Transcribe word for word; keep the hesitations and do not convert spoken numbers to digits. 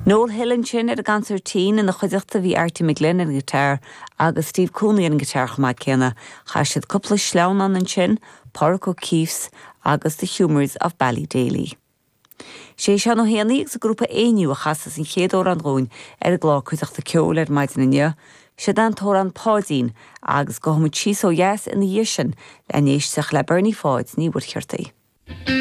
Noel Hill ansin ar an gconsairtín ina chuideachta bhí Artie McGlynn ar an guitar agus Steve Cooney ar an guitar chomh maith céanna chaith siad cúpla sleamhnán ansin, Pádraic O'Keefe's agus The Humours of Ballydaly. Sé Seán Ó hÉanaí agus a grúpa Éinniú a chasas an chéad amhrán dúinn ar an gclár Cuideachta Ceoil ar maidin inniu, Sé an t-amhrán Páidín agus gabhfaimid síos ó dheas ina dhiaidh sin le n-éisteacht le Bernie Pháid Ní Mhuircheartaigh.